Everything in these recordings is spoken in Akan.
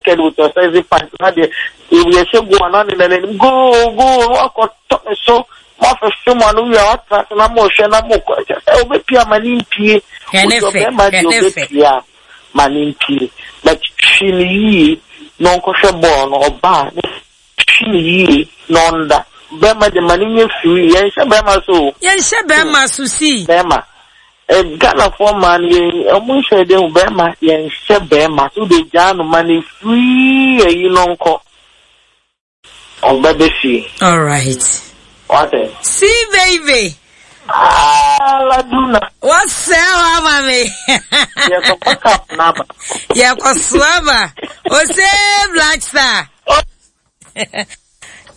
naked with your sexy pants na deɛ yɛhyɛ goal a na ne nananim goal goal na wakɔtɔ ne so moafefe mo ano wie a watena ase na mohwɛ na mokɔ kyɛ sɛ wobɛpie ama ne mpie Hwɛ ne wosɛ fɛ, ɔbɛrima hwɛ deɛ ne fɛ. wobɛpie a ma ne mpie but twi ne yie na ɔnkɔhwɛ bɔɔl no ɔbaa ne twi ne yie na ɔnda bɛrima de ma ne nyɛ free yɛnhyɛ bɛrima so o Yɛnhyɛ bɛrima so si. bɛrima eh, Ghanafoɔ mmaa no yɛn ɔmo nhyɛ de hu bɛrima yɛnhyɛ bɛrima so de gyaa no ma ne free ayi no nkɔ ɔbɛbɛ fie All right. wate See baby. Ah, laduna Wɔsɛe hɔ ama me. yɛkɔfa cup n'aba Yɛkɔso aba. Ose Black Star.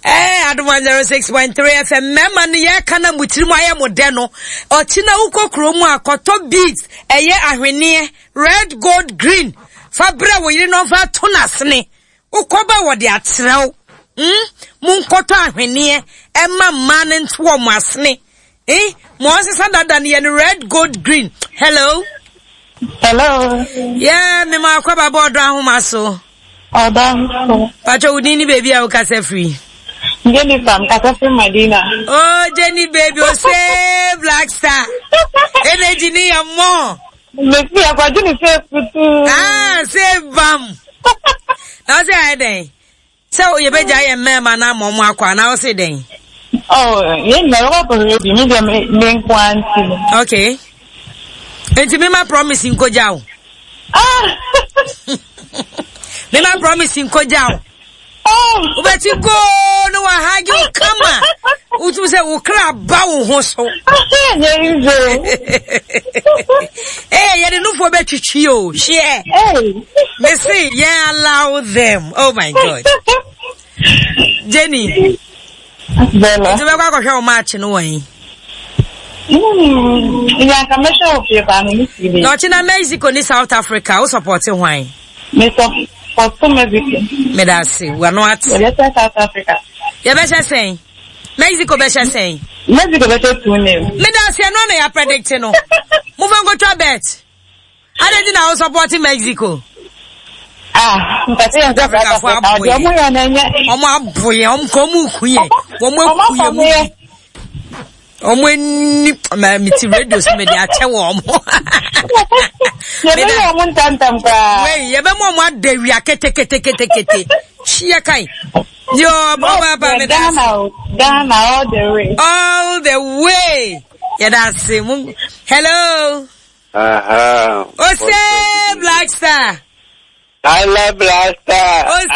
Eh, Adom 106.3 FM mmarima no yɛka na mo tirim ayɛ mo dɛ no ɔkyi na wokɔ kuro mu a kɔtɔ beads ɛyɛ ahweneɛ red gold green fa brɛ wo yere no ɔmfa to n'asene wokɔba wɔde akyerɛ wo mm? monkɔtɔ ahweneɛ ɛma mmaa no nto wɔn asene eh? mo ɔnsesa dada no yɛ no red gold green hello Hello. yeah, mema akɔba bɔ ɔdɔ ahoma so Ọ̀dọ́ so. patwɛ wo din ne baabi a wokasa firi Jennifer, mkasa firi Madina. Oh, Jenny baby, oh say Black Star. Energy ni ya mo. Mesi akwagye ne sɛ kutu. Ah, say bam. Na say I den. Sɛ yɛbɛgya yɛ mmarima na ama ɔmo akɔ anaa ɔse dɛn? Oh, yɛn nyinaa yɛkɔ akɔhwɛ bi, me deɛ me me nko ara nti no. Okay. Nti mema promise nkogya wo. Ah! Mema promise nkogya wo. Oh! Wobɛti goo ne wahage wo kama. Wotum sɛ wo kra ba wo ho so. Nyɛ easy. Eh, yɛde nufoɔ bɛtwitwi o. Hyeɛ. Hey. Me say, yeah, allow them. Oh my God. Jenny, Bella. nti bɛkɔ akɔhwɛ wo match no wɔ yi. Ìyá nka mɛhwɛ wɔ fie paa me ne TV. Na ɔkyena Mexico ne South Africa, wo support hwan? Me support Mexico. Meda ase, wano ate. Yɛbɛhyɛ South Africa. Yɛbɛhyɛ sɛn? Mexico bɛhyɛ sɛn? Mexico bɛhyɛ 2-0. Meda ase, ɛno na yɛ predict no. Momfa nkɔtwa bet. Adɛn nti na wo support Mexico? Ah, mpɛsɛ yɛn sɛ South Africafoɔ Africa. abo Ɔde ɔmo yɛn. yɛ na ɛnyɛ. Ɔmo abo yɛn, ɔmo ka ɔmo ku yɛn. Ɔmo Ɔmo aku yɛn afa mu mo yɛ. bi. Ɔmo ani, ma me ti radio so mede akyɛ wɔ ɔmo. Yɛbɛyɛ ɔmo ntɛmntɛm koraa. Wei, yɛbɛma ɔmo ada wia keteketekete. Hyia kan. Yo, ɔba ba me da Ghana ase. o, Ghana all the way. All the way. Yɛda ase. Mo- Hello. Aha. Ose Black Star. I love Blaster. Ose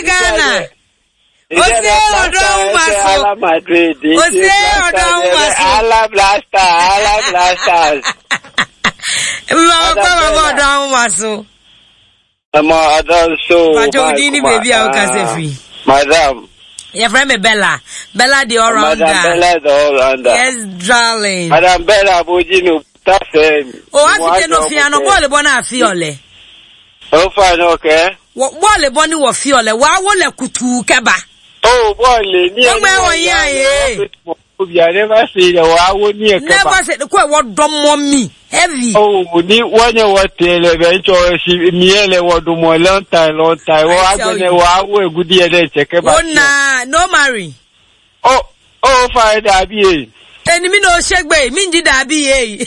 Ghana. Ose ọdọ ahoma so. I love Madrid. Ose ọdọ ahoma so. I love Blaster. I love Blasters. Mma ọkọ bàbá ọdọ ahoma so. Ọmọ ọdọ so. Pàtó odi ní bèbí a ó kásẹ̀ firi. Madam. Yɛfrɛ me Bella. Bella the all rounder. Madam Bella the all rounder. Yes, darling. Madam Bella abojí ni òkúta sẹ́yìn. O afite no fia no bọ́ọ̀lù bọ́ náà fi ọ̀lẹ̀. Ó fà ní ọkẹ́. Bọ́ọ̀lù bọ́ ni wọ̀ fi ọ̀lẹ̀ wàá wọlé kutu kẹba. Ó bọ́ọ̀lù ní Ọgbẹ́ wọ̀nyí àyè. Obi I never say that wàá wó ní ẹ̀kẹ́ bá. Never say kó ẹ̀wọ́ dọ́mọ mi heavy. Oh, ni wọ́n yẹ wọ́n tẹ lẹ bẹ n tsọ si miẹ lẹ wọ́n dùn mọ́ long time long time wọ́n I tell agbẹnẹ you. wọ́n awọ egudi yẹ dẹ tsẹkẹ bá. Ó na no marry. Ó ó fa ẹ dàbí yẹ. Ẹni mi na ó ṣègbè mi ń jí dàbí yé yìí.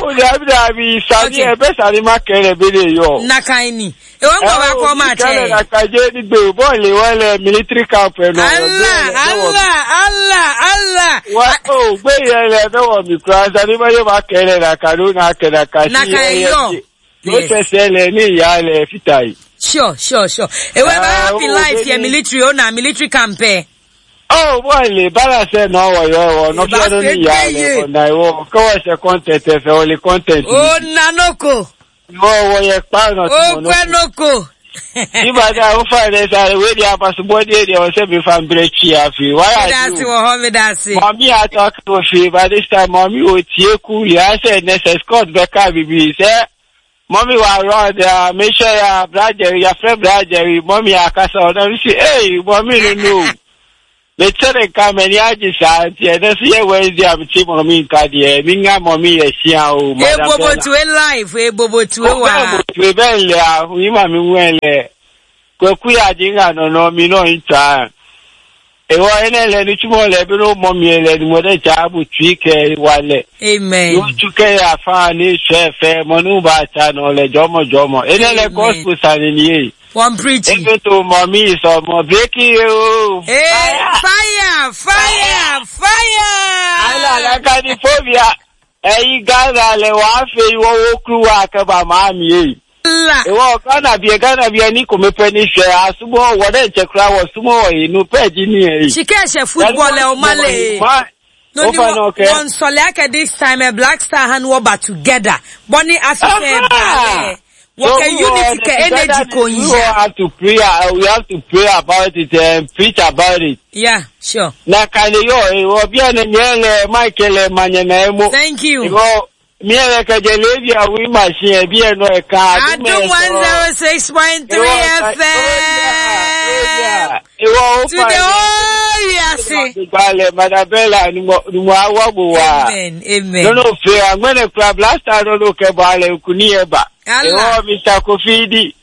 Ó dàbí dàbí sani Okay. ẹ bẹ sani má kẹrẹ bẹ lè yọ. Nakaini. Ìwọ ń gbọ̀ wá kọ́ máa Kẹrẹ tẹ̀. nàkàjẹ́ nígbè bọ́ọ̀lù wọn lẹ military camp ẹ̀ nọ. Allah Allah Allah Allah. Wa ó gbé yẹn lẹ bẹ wọ mi kura sani má yẹ má kẹrẹ nàkàdó nàkẹ nàkàsí. Nàkà ẹ yọ. Ló Yes. tẹsẹ̀ lẹ ní ìyá lẹ fìtà yìí. Sure. Ewe bá Ah, happy ó, life yẹ baby. military ó na military camp ẹ. Oh, bọ́ọ̀lì balance náà wọ̀yọ̀ ẹ̀wọ̀ nọ́fíà ló ní ìyá rẹ̀ ọ̀nà ìwọ kọ́wọ́ ṣe content ẹ̀fẹ̀ wọlé content. Ó na noko. Ìwọ wọ yẹ pààrọ̀ tí Ó mo pẹ́ noko. Nígbàdá ó fà rẹ̀ sáré wé di apasubọ́dé èdè ọ̀sẹ̀ mi fa nbẹ̀rẹ̀ kyi àfi. Wáyà Mi dá sí wọ̀ họ́ mi dá sí. Mọ̀mí àtọ́kùn òfin by this time mọ̀mí ò tiẹ̀ kú yà á sẹ̀ nẹ́sẹ̀ Scott bẹ́ẹ̀ bìbí sẹ́. Mọ̀mí wà rọ̀ ọ̀dà mẹ́sẹ̀ yà brajẹ̀rì yàfẹ́ brajẹ̀rì mọ̀mí àkàsà ọ̀dà mi sì ẹ̀ mọ̀mí nínú. Mete ne nka m'ani agye saa nti ɛnɛ so yɛ Wednesday a mete mɔmi nka deɛ menya mɔmi yɛ hyia o madam Bella. Ebobotue life ebobotue wa. Ebobotue bɛn lɛ ahu ima mi wɛn lɛ kwaku yɛ agye nga nɔnɔ mi nɔ ntwa. Ewɔ ene lɛ ni tsumɔ lɛ bi no mɔmi lɛ ni mɔ ɖe dza bu tui kɛ wa lɛ. Amen. Yo tsu kɛ ya fa ni sɛ fɛ mɔ nu ba tsa nɔ lɛ jɔmɔ jɔmɔ. Ene lɛ gospel sani ni ye. Wɔn preaching. Ebe to mɔmi sɔ mɔ breki ye o. Hey, fire, fire, fire. Ala la ka ni phobia. Eyi Ghana le wa fe yi wo wo kru wa ke ba ma mi ye. La. Ewo Ghana bie Ghana bie ni ko me pe ni hwɛ asumo wo de nche kra wo sumo wo inu pe ji ni e. Chike hyɛ football ɛ ɔma le. No ni wɔn sɔle akɛ this time ɛ Black Star han wɔ ba together. Bɔni Africa ɛ ba lɛ. Wɔkɛ unity kɛ energy ko We have to pray. We have to pray about it and preach about it. Yeah, sure. Na kane yo e obi ene nyele Michael manye na emo. Thank you. Ibo mi ere keje levi a wi machine e bi eno e ka Adum 106.3 FM. Iwo o To the whole wiase. Gbale Madabella ni mo ni mo awo wa. Amen. Amen. No no fe agbene kura blaster no no ke ba le kuni eba. Allah. Iwo Mr. Kofi di.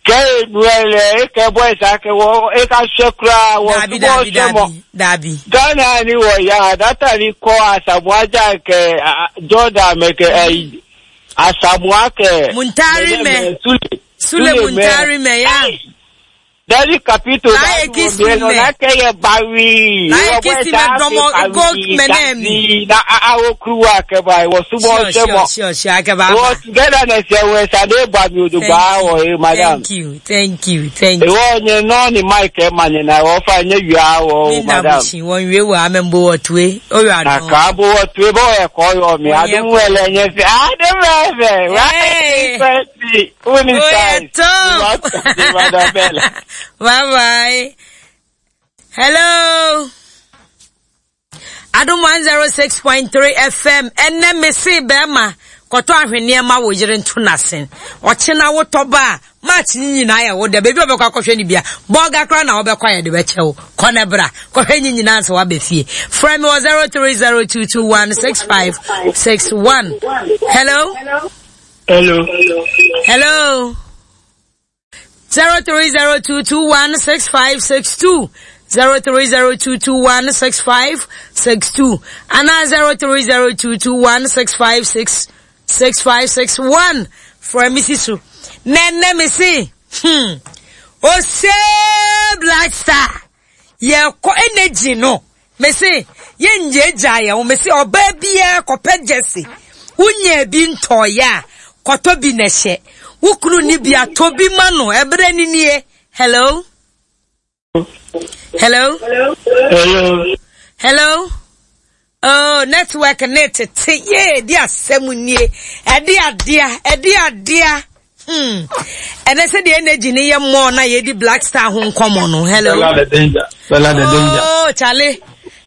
Ke enuele e ke boys ake wo e ka se kura wo Dabi sumo dabi se mo. dabi dabi. Ghana ni wɔ ya data ni kɔ Asamoah Gyan kɛ Jordan mɛ kɛ ɛyi Asamoah kɛ. Muntari mɛ. Sule. Sule Muntari mɛ ya. Dari kapito Na ye kisi mɛ. na kɛ yɛ bawi. Na ye kisi mɛ dɔmɔ go mɛ nɛ mi. Na awo kuruwa kɛ ba wɔ sumɔ Sure sɛmɔ. sure sure sure akɛba Wɔ aba. togetherness yɛ wɔ ɛsade ba mi odo gba wɔ ye madam. Thank you thank you thank you. Ìwọ nye nɔɔni Mike ɛ ma nye na wɔ fa nye wia wɔ o Mi madam. ndabushi wɔn wie wɔ amembo wɔ tue oyɔ Na adɔn. ka bo wɔ tue bɔ yɛ kɔ yɔ mi Wɔn yɛ adum wɛlɛ nye fi adum ɛfɛ Hey. right twenty uni Oyɛ size. top. Bye bye. Hello. Adum 106.3 FM ɛnɛ mese bɛrima kɔtɔ ahweneɛ ma wo yere nto n'asen ɔkyena wotɔ ba a match ne nyinaa yɛ wo dɛ baabi a ɔbɛkɔ akɔhwɛ no bia bɔɔga koraa na wobɛkɔ ayɛ de bɛkyɛ wo kɔ ne bra kɔhwɛ ne nyinaa sɛ woabɛ fie frɛ me wɔ 0302216561 hello Hello. hello 0302216562 0302216562 ana 030221656561 frɛ me si so na ɛnɛ me se hmm ose Black Star yɛkɔ energy no me se yɛngyaagyaa yɛn ho me se ɔbaa biara kɔpɛ gyɛse wonya bi ntɔɔyɛ a kɔtɔ bi na ɛhyɛ wo kunu ni bi atɔ bi ma no ɛberɛ ni nie hello hello Hello. hello oh network ne tete yee di asɛm nie ɛde adea ɛde adea hmm ɛnɛ sɛ deɛ energy ne yɛ mmɔɔ na yɛdi Black Star ho nkɔmmɔ no hello Bella the danger. Bella the danger. Oh, Charlie.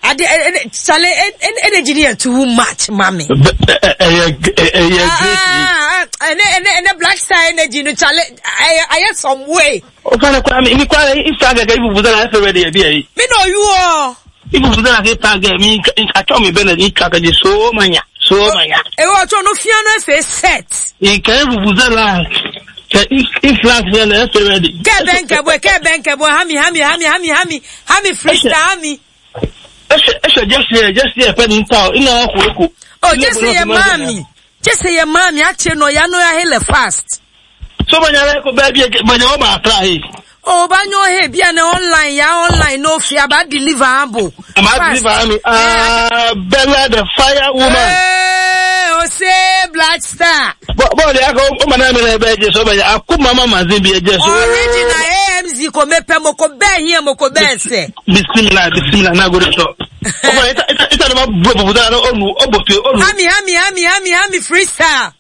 Ade, Charlie, energy ni yɛ too much, mami. Ɛyɛ ɛyɛ great. Ah, ɛnɛ ɛnɛ ɛnɛ Black Star energy no Charlie, ayɛ ayɛ some way. O fana kura mi mi kura ifa gɛgɛ ifu fusa na ɛfɛ de ɛbi ɛyi. Mi na oyu o. Ifu fusa na ke pa gɛ mi atɔ mi bɛ na ni twa kɛji so ma nya so ma nya. Ewo ɔtɔ no fia no efe set. Nkɛ ifu fusa na kɛ ifla fia na ɛfɛ bɛ de. Kɛ bɛn kɛ bɔ kɛ bɛn kɛ bɔ hami hami hami hami hami hami freestyle hami. Ɛsɛ ɛsɛ jɛsi yɛ jɛsi yɛ fɛ ni ta o ina ɔkò eko. Oh, jɛsi yɛ maami jɛsi yɛ maami akyɛ no ya no ya hele fast. So ma nya lɛ ko bɛɛ bi yɛ ma nya o ma atra ye. Oh, ba nyo he bia na online ya online no fia ba deliver abo. Ama deliver mi ah Bella the fire woman. Hey, ose Black Star. Bɔɔlu yà kɔ o ma n'a minɛ bɛɛ jɛ so bɛ a ko mama mazin bi jɛ so. Original AMZ ko mepɛ mo ko bɛɛ hiɛ mo ko bɛɛ sɛ. Bisimila bisimila n'a gori sɔ. O fana ita ita ita de ma bɔ bɔbɔ la o nu o bɔ to o nu. Hami hami hami hami hami freestyle.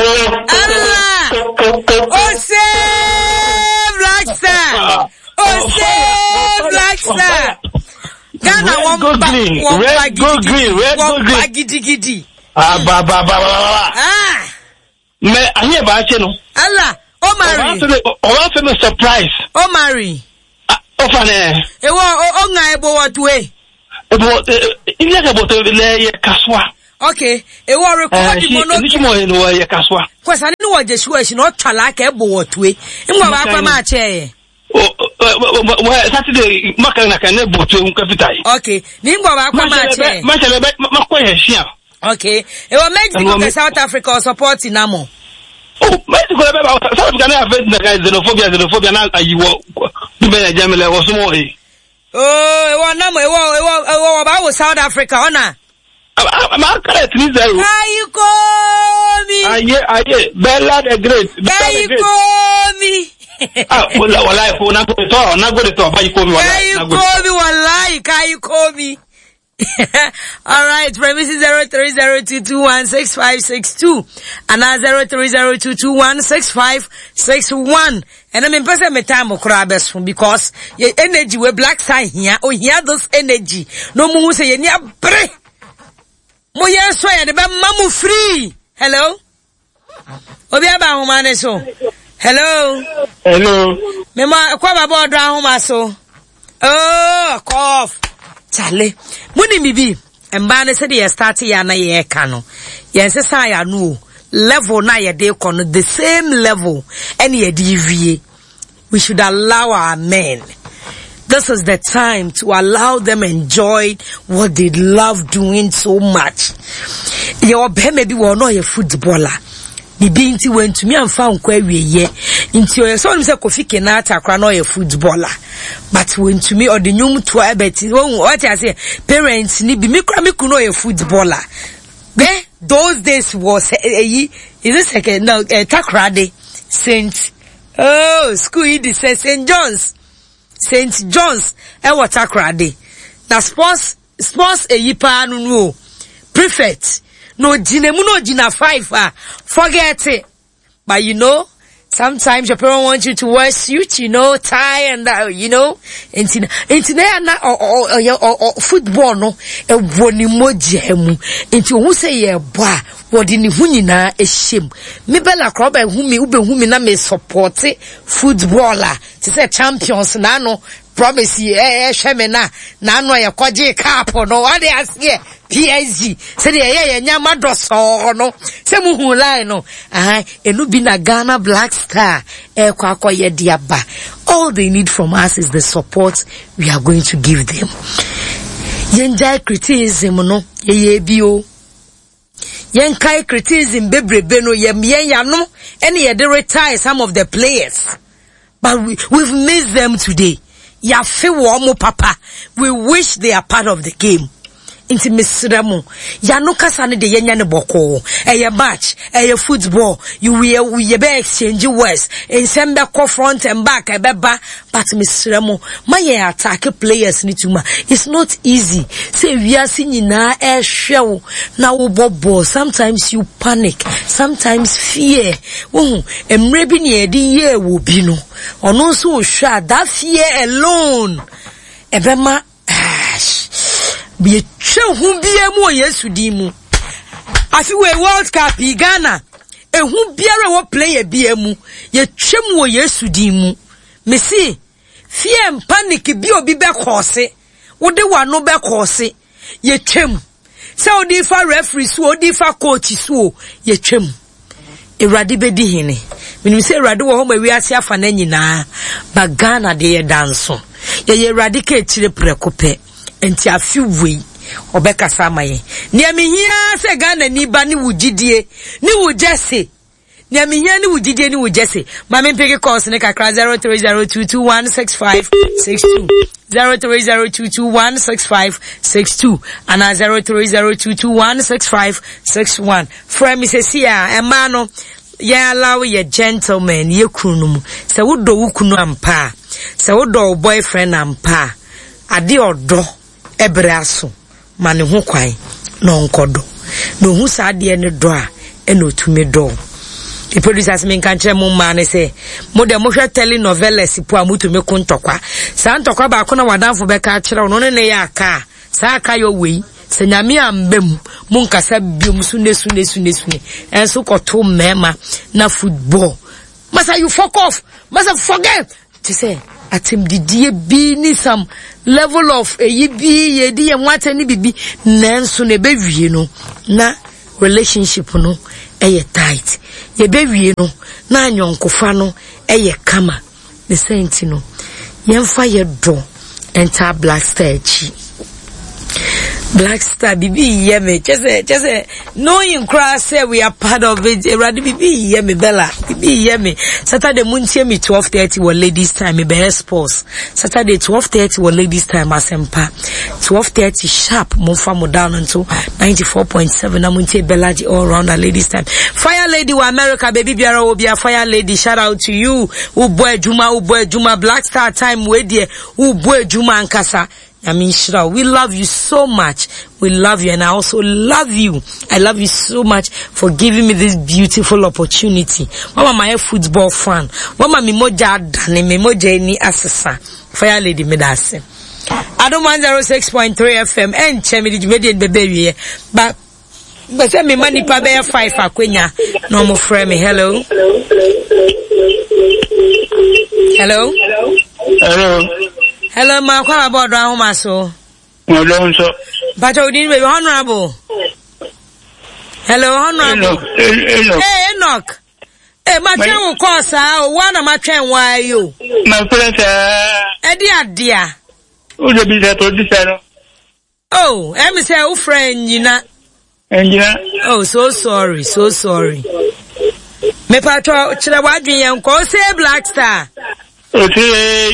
Allah! Ose Black Star. Ose Black Star. Ghana Red, go wɔn ba green. wɔn ba Red, go green. gidigidi Red, go wɔn ba green. gidigidi. Aba ba ba ba ba ba. Ah! Mɛ a ɲɛ b'a cɛ no. Allah! O marry. Ɔba fɛ mi surprise. O marry. Ɔfa nɛ. Ewɔ o o ŋa ebo wɔ tue. Ebo ilé kɛ bɔtɔ lɛ yɛ kasuwa. Okay. Ewɔ record mo no. Ɛɛ si mo yɛ yɛ kasuwa. Kwasa ne wɔ jesu ɛsi na ɔtwa la kɛ ebo wɔ tue. Ngwa wa akpa ma akyɛ yɛ. Saturday maka na kan ne bɔ tue nkafita yi. Okay. Ni ngwa wa akpa ma akyɛ. Ma kyɛ bɛ ma kɔ yɛ si Okay. Ewa Mexico ke South Africa or support na mo. Oh, Mexico bɛ ba South Africa na afɛ na ka xenophobia xenophobia na ayi wɔ dubɛ na jɛmɛlɛ wɔ sumɔ ye. Oh, ewa na mo ewa ewa ewa ba wo South Africa ona. Ma kɛlɛ Tunisia yo. Kayi komi. Aye aye Bella the great. Kayi komi. Ah, wala wala ko na go to na go to ba yi komi wala. Kayi komi wallahi kayi komi. All right, premise 0302216562 and 0302216561. And I mean, person me time okra beso because your energy we black side here, oh here this energy. No mu say ye ni abre. Mo ye so ye de be mamu free. Hello. Obi aba ahoma ne so. Hello. Hello. Me ma kwa baba odo ahoma so. Oh, cough. Chale. Muni bibi. Mba ne se de start ya na ye ka no. Ye nsesa ya no o. Level na ye de kɔ no the same level ɛne ye de wie. We should allow our men. This is the time to allow them enjoy what they love doing so much. Yɛwɔ bɛrima bi wɔ ɔno ɔyɛ footballer. Bibi nti wantumi amfa nkɔ awieɛ. Nti ɔyɛ sɛ ɔnim sɛ Kofi Kinata koraa na ɔyɛ footballer. But wantumi ɔde nnwom toa ɛbɛti wɔn wɔte aseɛ parents ni bi mi koraa mi kunu ɔyɛ footballer. Bɛ those days was ɛyi is it second no eh, Takoradi Saint Oh, school yi de sɛ St. John's. St. John's ɛwɔ Takoradi. Na sports sports eyi paa no no o. Prefect. Na ogyina mu na ogyina five a. Forget it. But you know, sometimes your parents want you to wear suit, you know, tie and that, you know. Nti na nti na ya na ɔyɛ ɔ football no ɛwɔ ne mogya mu. Nti ohun sɛ yɛ bɔ a Wɔde ne ho nyinaa hyɛ mu. Me Bella koraa wobɛhu me wobɛhu me na me sɔpɔte football a te sɛ champions na ano promise yi ɛhwɛ me na na ano a yɛkɔgye cup no wade aseɛ PSG sɛdeɛ ɛyɛ yɛ nyama dɔsɔɔ no sɛ muhu line no aha ɛno bi na Ghana Black Star ɛkɔ akɔyɛ de aba all they need from us is the support we are going to give them yɛngyae criticism no yɛyɛ bi o Yɛnkae criticism bebrebe no yɛ yɛn yano ɛne yɛde retire some of the players but we, we've missed them today. Yɛafe wɔn mo papa. We wish they are part of the game. Nti mesrɛ mo, yano kasa no de yɛnyɛ no bɔkɔɔ. Ɛyɛ match, ɛyɛ football, you yɛbɛ exchange words, nsɛm bɛkɔ front and back ɛbɛba, But mesrɛ mo, ma yɛn attack players no too much. It's not easy. Sɛ wiase nyinaa ɛrehwɛ wo na wobɔ ball. Sometimes you panic, sometimes fear. Wohu, mmerɛ bi nea yɛde yɛɛ wɔ bi no, ɔno nso rehwɛ a, that fear alone ɛbɛma ash. Yɛtwa hu biara mu wɔ Yesu din mu. Afi wei World Cup yi Ghana, ehu biara wɔ player biara mu, yɛtwa mu wɔ Yesu din mu. Mese, fear and panic bi obi bɛkɔɔse, wode w'ano bɛkɔɔse, yɛtwam. Sɛ wode fa referee so, wode fa coach so, yɛtwam. Awurade bɛdi hene. Menim sɛ Awurade wɔ hɔ ma wiase afa no nyinaa, ba Ghana deɛ yɛda nso. Yɛyɛ Awurade ka akyire prɛko pɛ. Nti afe wei, ɔbɛkasa ama yɛn. Nea mehia sɛ Ghana ni ba ne wo gyidie, ne wo gyɛse. Nea mehia ne wo gyidie ne wo gyɛse. Ma me mpeke calls ne kakra 0302216562 0302216562 anaa 0302216561. Frɛ me sɛsi a ɛmaa no yɛn allow yɛ gentleman yɛ kunu no mu. Sɛ wodɔ wo kunu ampa a, sɛ wodɔ wo boyfriend ampa a, ade ɔdɔ ɛbrɛ aso. Ma ne ho kwan na ɔnkɔdɔ. Na ohu saa adeɛ no dɔ a, ɛna otumi dɔ wo. Me producers menka nkyerɛ mo mmaa no sɛ, mo deɛ mohwɛ telenovelas po a motumi ko ntɔkwa. Saa ntɔkwa baako na w'adamfo bɛka akyerɛ wo no, ne ne yɛ aka a, saa aka yɛ wei. Sɛ nyame amba mu, monkasa biom sune sune sune sune. Ɛnso kɔto mmarima na football. Masa you fuck off. Masa forget. Te sɛ atɛmdidie bi ne some level of eyi bi yɛdi yɛn ho atɛm ne bibi nanso na ɛbɛwie no na relationship no ɛyɛ tight. Yɛbɛwie no na anyɔnkofa no ɛyɛ kama. Ne saa nti no, yɛmfa yɛ dɔ ntaa Black Star akyi. Black Star, bibi yɛ me, kyɛ sɛ, kyɛ sɛ, knowing koraa sɛ we are part of it, Awurade bibi yɛ me, Bella, bibi yɛ me. Saturday muntie me 12:30 wɔ ladies time, me bɛyɛ sports. Saturday 12:30 wɔ ladies time asɛmpa. 12:30 sharp, momfa mo down nto 94.7 na muntie Bella G all rounder ladies time. Fire lady wɔ America, baby biara wɔ bia fire lady, shout out to you. Wobɔ adwuma, wobɔ adwuma, Black Star time wei deɛ, wobɔ adwuma ankasa. Nyame nhyira wo. We love you so much. We love you and I also love you. I love you so much for giving me this beautiful opportunity. Mama my football fan. Mama me mogya adane, me mogya ani asesa. Fire lady me da ase. Adom 106.3 FM ɛnkyɛ me de dwumadie no bɛbɛ wieɛ. Ba bɛ sɛ mema nipa bɛyɛ five akwanya na ɔmo frɛ me. Hello. Hello. Hello. Hello, ma akɔ aba ɔdɔ ahoma so. Ɔdɔ nso. Mpakyɛ odin baabi honorable. Hello, honorable. Enoch. Hey, Enoch. Hey, matwɛn wo kɔɔ saa o, wo na matwɛn wo ayi o. Mafrɛ saa. Ɛde adea. Wode bisa producer no. Oh, ɛmi sɛ wofrɛ nyina. Ɛngyina. Oh, so sorry, so sorry. Mepatwɔ kyerɛ w'adwene yɛn kɔ. Ose Black Star. Ose.